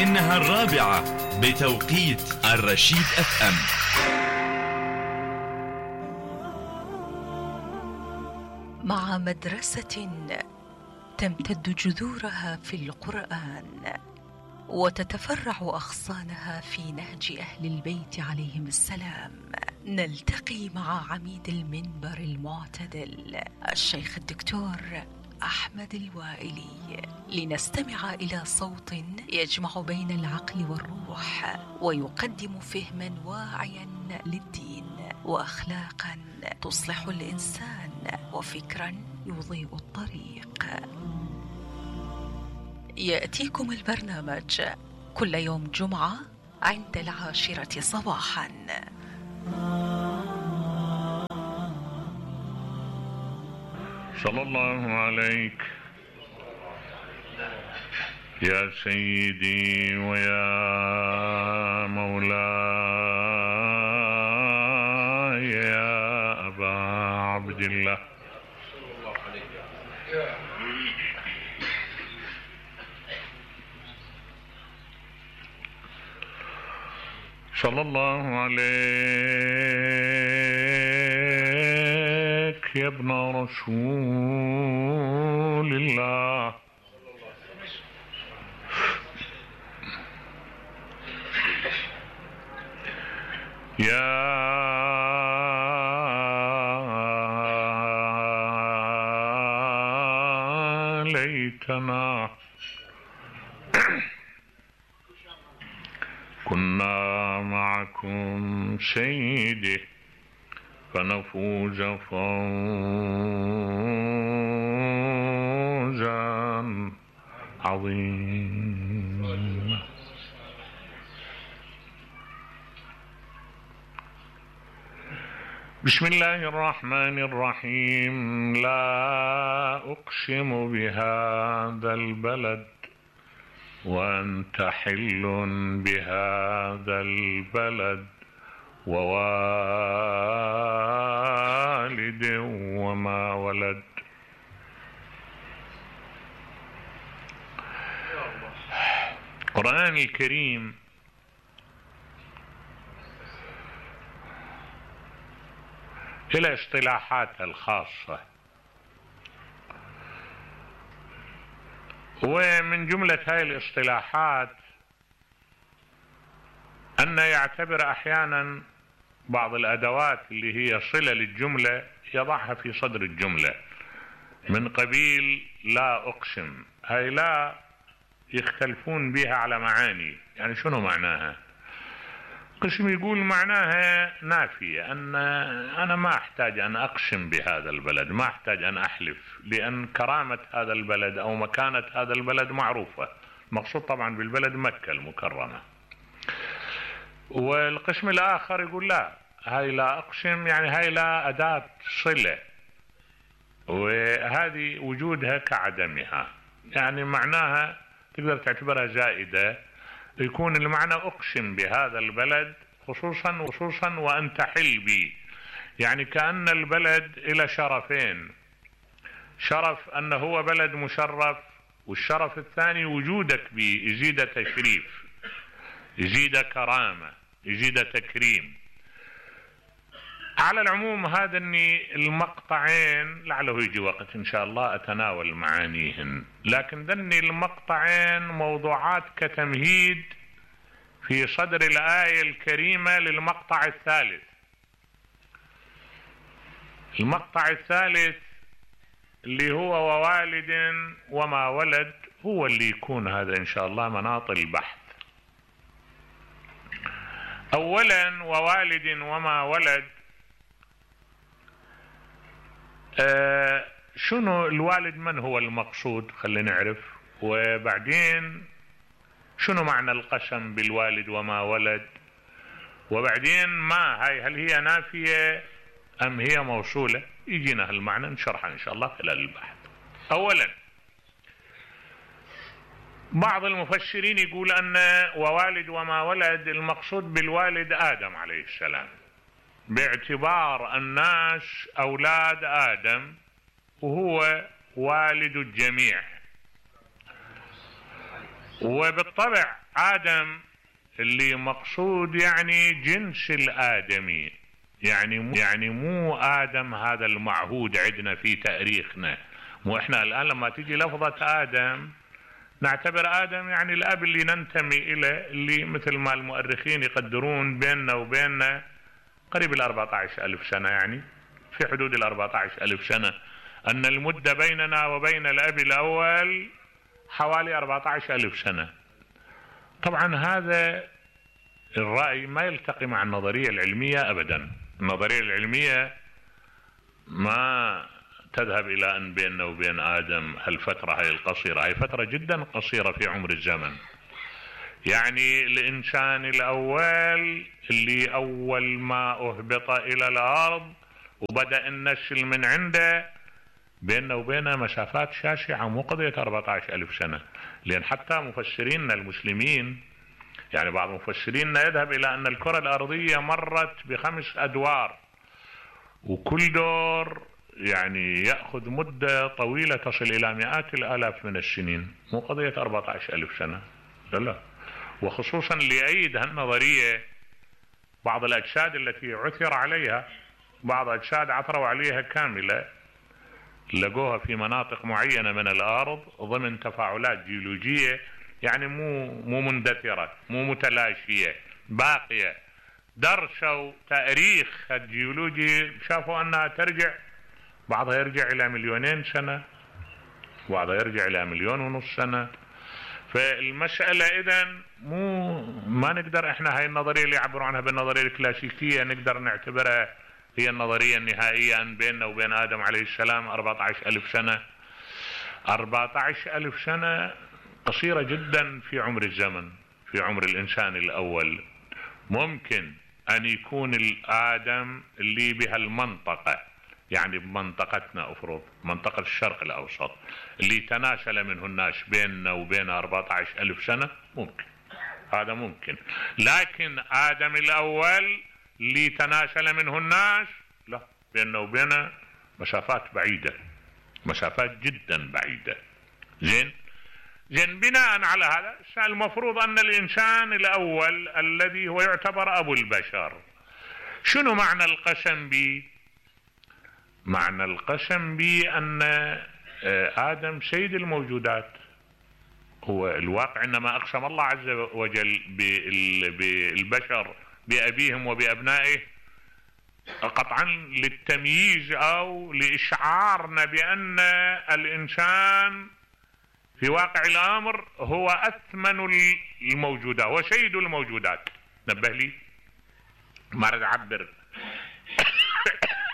إنها 4 بتوقيت الرشيد FM. مع مدرسة تمتد جذورها في القرآن وتتفرع أغصانها في نهج أهل البيت عليهم السلام، نلتقي مع عميد المنبر المعتدل الشيخ الدكتور أحمد الوائلي لنستمع إلى صوت يجمع بين العقل والروح ويقدم فهما واعيا للدين وأخلاقا تصلح الإنسان وفكرا يضيء الطريق. يأتيكم البرنامج كل يوم جمعة عند 10 صباحا. صلى الله عليك يا سيدي ويا مولاي يا أبا عبد الله. صلى الله عليك يا ابن رسول الله. يا ليتنا كنا معكم سيدي فنفوز فوزا عظيما. بسم الله الرحمن الرحيم. لا أقسم بهذا البلد وأنت حل بهذا البلد ووالد وما ولد. القرآن الكريم إلى اصطلاحاتها الخاصة، ومن جملة هاي الاصطلاحات أن يعتبر أحيانا بعض الأدوات اللي هي صلة للجملة يضعها في صدر الجملة من قبيل لا أقسم. هاي لا يختلفون بها على معاني، يعني شنو معناها؟ قسم يقول معناها نافية، أن أنا ما أحتاج أن أقسم بهذا البلد، ما أحتاج أن أحلف، لأن كرامة هذا البلد أو مكانة هذا البلد معروفة. المقصود طبعا بالبلد مكة المكرمة. والقسم الآخر يقول لا، هاي لا أقسم يعني هاي لا أداة صلة، وهذه وجودها كعدمها، يعني معناها تقدر تعتبرها زائدة. يكون المعنى أقسم بهذا البلد خصوصا وأنت حل بي، يعني كأن البلد إلى شرفين، شرف أنه هو بلد مشرف، والشرف الثاني وجودك به يزيد تشريف، يزيد كرامة، يزيد تكريم. على العموم هذا المقطعين لعله يجي وقت إن شاء الله أتناول معانيهن، لكن ذني المقطعين موضوعات كتمهيد في صدر الآية الكريمة للمقطع الثالث. المقطع الثالث اللي هو ووالد وما ولد هو اللي يكون هذا إن شاء الله مناط البحث. أولا ووالد وما ولد، شنو الوالد؟ من هو المقصود؟ خلينا نعرف. وبعدين شنو معنى القسم بالوالد وما ولد؟ وبعدين ما هاي، هل هي نافية أم هي موصولة؟ يجينا هالمعنى نشرحها إن شاء الله خلال البحث. أولا بعض المفسرين يقول أن ووالد وما ولد المقصود بالوالد آدم عليه السلام، باعتبار الناس أولاد آدم وهو والد الجميع. وبالطبع آدم اللي مقصود يعني جنس الآدمي، يعني مو آدم هذا المعهود عندنا في تاريخنا. مو احنا الآن لما تيجي لفظة آدم نعتبر آدم يعني الأب اللي ننتمي إليه، اللي مثل ما المؤرخين يقدرون بيننا وبيننا قريب 14,000 سنة، يعني في حدود 14,000 سنة، أن المدة بيننا وبين الأب الأول حوالي 14,000 سنة. طبعا هذا الرأي ما يلتقي مع النظرية العلمية أبدا. النظرية العلمية ما تذهب إلى أن بيننا وبين آدم هالفترة هاي القصيرة، هاي فترة جدا قصيرة في عمر الزمن. يعني الإنسان الأول اللي أول ما أهبط إلى الأرض وبدأ النسل من عنده بيننا وبينه مسافات شاسعة، مو قضية 14,000 سنة. لأن حتى مفسريننا المسلمين، يعني بعض مفسريننا يذهب إلى أن الكرة الأرضية مرت ب5 أدوار، وكل دور يعني يأخذ مدة طويلة تصل إلى مئات الآلاف من السنين، مو قضية 14,000 سنة. لا، وخصوصا ليؤيد هالنظرية بعض الأجساد التي عثر عليها، بعض أجساد عثروا عليها كاملة، لقوها في مناطق معينة من الأرض ضمن تفاعلات جيولوجية، يعني مو مندثرة، مو متلاشية، باقية. درسوا تاريخ الجيولوجي، شافوا أنها ترجع، بعضها يرجع إلى 2,000,000 سنة، بعضها يرجع إلى 1,500,000 سنة. فالمسألة إذن ما نقدر احنا هاي النظرية اللي يعبروا عنها بالنظرية الكلاسيكية نقدر نعتبرها هي النظرية النهائية أن بيننا وبين آدم عليه السلام 14,000 سنة. 14,000 سنة قصيرة جدا في عمر الزمن، في عمر الإنسان الأول. ممكن أن يكون الآدم اللي بهالمنطقة، يعني بمنطقتنا أفرض منطقة الشرق الأوسط، اللي تناسل منه الناس بيننا وبين 14,000 سنة، ممكن، هذا ممكن. لكن آدم الأول اللي تناسل منه الناس، لا، بيننا وبينه مسافات بعيدة، مسافات جدا بعيدة. زين بناء على هذا المفروض أن الإنسان الأول الذي هو يعتبر أبو البشر، شنو معنى القسم به؟ معنى القسم به أن آدم سيد الموجودات. هو الواقع إنما أقسم الله عز وجل بالبشر بأبيهم وبأبنائه قطعا للتمييز أو لإشعارنا بأن الإنسان في واقع الأمر هو أثمن الموجودات وسيد الموجودات. نبه لي، ما أريد أعبر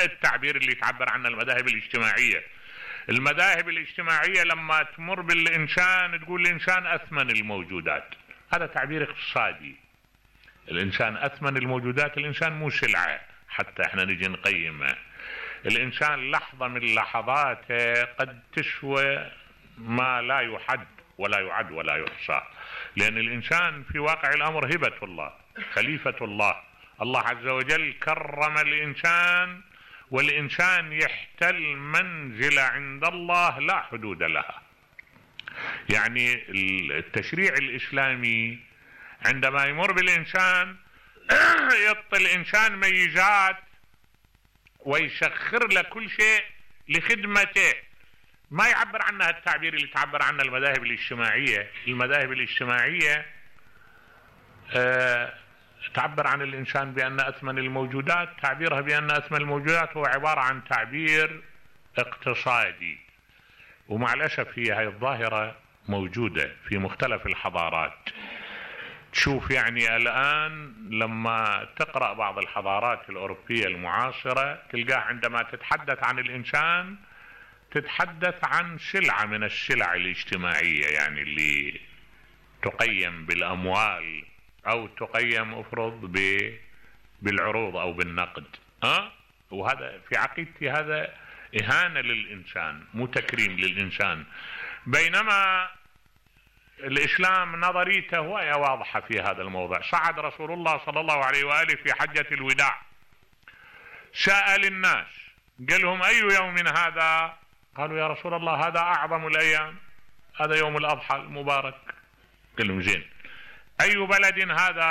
التعبير اللي تعبر عنه المذاهب الاجتماعية. المذاهب الاجتماعية لما تمر بالإنسان تقول الإنسان أثمن الموجودات، هذا تعبير اقتصادي. الإنسان أثمن الموجودات، الإنسان مو سلعة حتى احنا نجي نقيمه. الإنسان لحظة من لحظاته قد تسوى ما لا يحد ولا يعد ولا يحصى، لأن الإنسان في واقع الأمر هبة الله، خليفة الله. الله عز وجل كرم الإنسان، والإنسان يحتل منزلة عند الله لا حدود لها. يعني التشريع الإسلامي عندما يمر بالإنسان يعطي الإنسان ميزات ويسخر له كل شيء لخدمته. ما يعبر عنها التعبير اللي تعبر عنه المذاهب الاجتماعية. المذاهب الاجتماعية تعبر عن الإنسان بأن أثمن الموجودات، تعبيرها بأن أثمن الموجودات هو عبارة عن تعبير اقتصادي. ومع الأسف هي هاي الظاهرة موجودة في مختلف الحضارات. تشوف يعني الآن لما تقرأ بعض الحضارات الأوروبية المعاصرة تلقاه عندما تتحدث عن الإنسان تتحدث عن سلعة من السلع الاجتماعية، يعني اللي تقيم بالأموال أو تقيم أفرض بالعروض أو بالنقد. وهذا في عقيدتي هذا إهانة للإنسان، مو تكريم للإنسان. بينما الإسلام نظريته وهي واضحة في هذا الموضوع. صعد رسول الله صلى الله عليه وآله في حجة الوداع، سأل الناس قال لهم أي يوم هذا؟ قالوا يا رسول الله هذا أعظم الأيام، هذا يوم الأضحى المبارك. قل لهم زين أي بلد هذا